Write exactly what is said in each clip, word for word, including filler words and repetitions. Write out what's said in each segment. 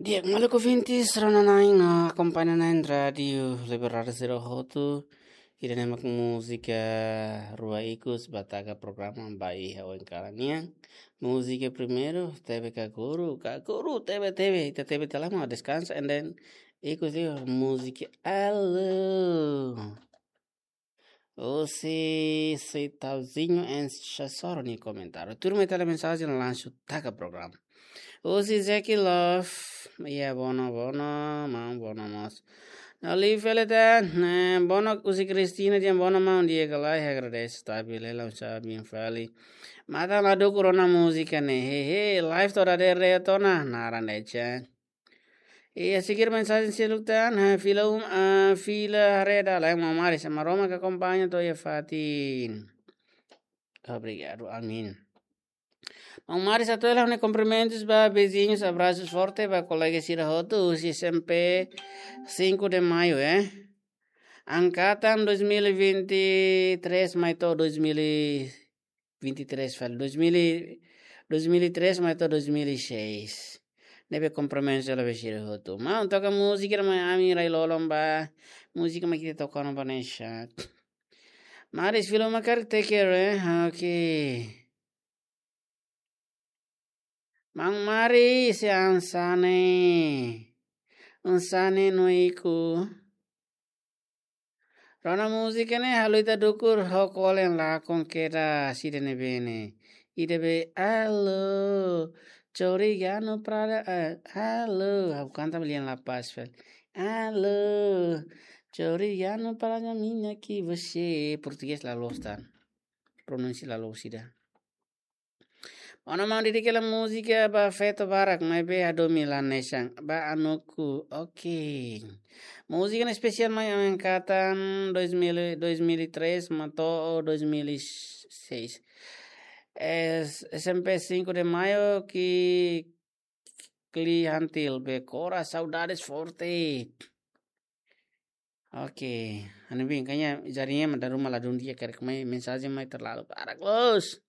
Di'ak, maluk ouvintes, rona-na'in no akompaña-na'in Rádiu Liberdade sira hotu. Ida-ne'e mak múzika rua ikus ba taka programa ba iha oin kalan nian. Múzika primeiru, tebe Kakuru, Kakuru, tebe, tebe, ita tebe tiha lai mak deskansa, and then ikus liu múzika Alô. Husi Seitauzinho and Chasoro nia komentáriu. Turma ita lee mensajen langsung taka programa. Husi Zeki Love. Iya, bono, bono, maun, bono mós. Nali fele tan, eh, bono husi Cristina, dia bono maun, dia kalai, agradese, tapi lela usa bin fali. Matan la dukur ona múzika ne'e, he, he, live toda de re tona, naran de chan. Iya, seguir mensajen seluk tan, ha, fila um, ah, fila reda, lain maun Maris, Maromak akompaña to'o iha fatin. Obrigadu, amin. Maun Maris, atu hela ha'u-nia kumprimentus ba viziñus, abrasu forte ba kolega sira hotu, husi S M P cinco de Maio, eh. Angkatan dois mil e vinte e três mai to'o dois mil e vinte e três fali, dois mil e, dois mil e três mai to'o dois mil e seis. Ne'ebé kumprimentus ba sira hotu. Maun, toka múzika ida mai ami rai-lolon ba. Múzika mai ita toka no ba ne'e sa. Maris, fila uma karik, take care, eh? Ok. Maun Maris, hanesan ne'e. Hanesan ne'e no ikus. Rona múzika ne'e, halo ita dukur, ho kolen lakon kedas ida-ne'ebé ne'e. Ida be, alô, chorigano prada, ah, alô. Ha'u kanta belian La Paz, fel. Alô, chorigano prada minha que você. Portugés la loos tan. Pronúnsia la loos ida. Ona maun, dedika hela múzika ba feto barak, maibé hadomi la hanesan, ba anuku, ok. Múzika ne'e espesiál mai angkatan dois mil, dois mil e três mai to'o dois mil e seis. Es-, S M P cinco de Maio, ki, Kli Hantil, be kora, saudades forte. Ok, anu bin, kayaknya jaringan mak dala ruma ladún di'ak, karik mai mensajen mai terlalu barak loos.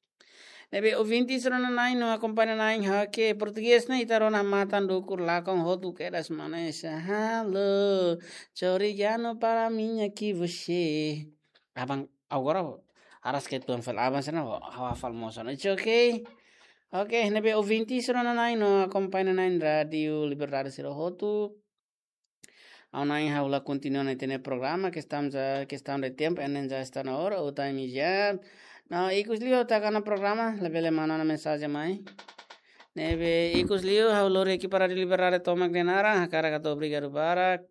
Ne'ebé ouvinte sira rona-na'in no akompaña-na'in, ok, portugés ne'e ita rona matan dukur lakon hotu kedas hanesan. Alô, chorigano prada minha que você. Aban, agora, aras ke tuan fel aban sana, ha'u hafal mós ona. It's ok. Ok, ne'ebé ouvinte sira rona-na'in no akompaña-na'in Rádiu Liberdade sira hotu. Ha'u-nia, ha'u la kontinua ona ita-nia programa, kestaun ja, kestaun de tempu, and then já está na hora, o time is up. No, ikus liu ha'u taka ona programa, labele manu ona mensajen mai. Ne'ebé ikus liu, ha'u lori ekipa Rádiu Liberdade tomak nia naran, hakarak atu obrigadu barak.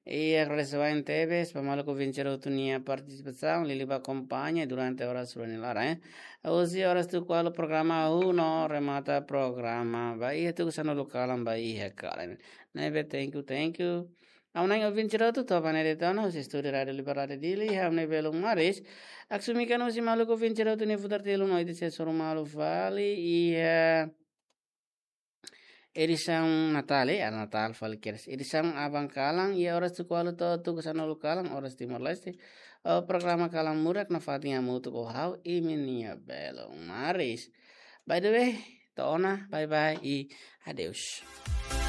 I agradese barak tebes ba maluk ouvinte sira hotu nia partisipasaun, liuliu ba akompaña durante oras rua nia laran, eh. Husi oras tuku ualu programa hahú no remata programa ba iha tuku sanulu kalan ba iha kalan. Ne'ebé, thank you, thank you. Ha'u-nia ouvinte sira hotu, to'o ba ne'e de'it ona, husi estúdiu Rádiu Liberdade Dili, ha'u-nia belun Maris. Aksumi kan husi maluk ouvinte sira hotu nia futar telun no ita sei hasoru malu fali iha edisaun Natál, eh, Natál fali kedas. Edisaun aban kalan, iha oras tuku ualu to'o tuku sanulu kalan, oras Timor-Leste. O programa Kalan Murak nafatin hamutuk ho ha'u, imi-nia belun Maris. By the way, to'o ona, bye bye, i adeus.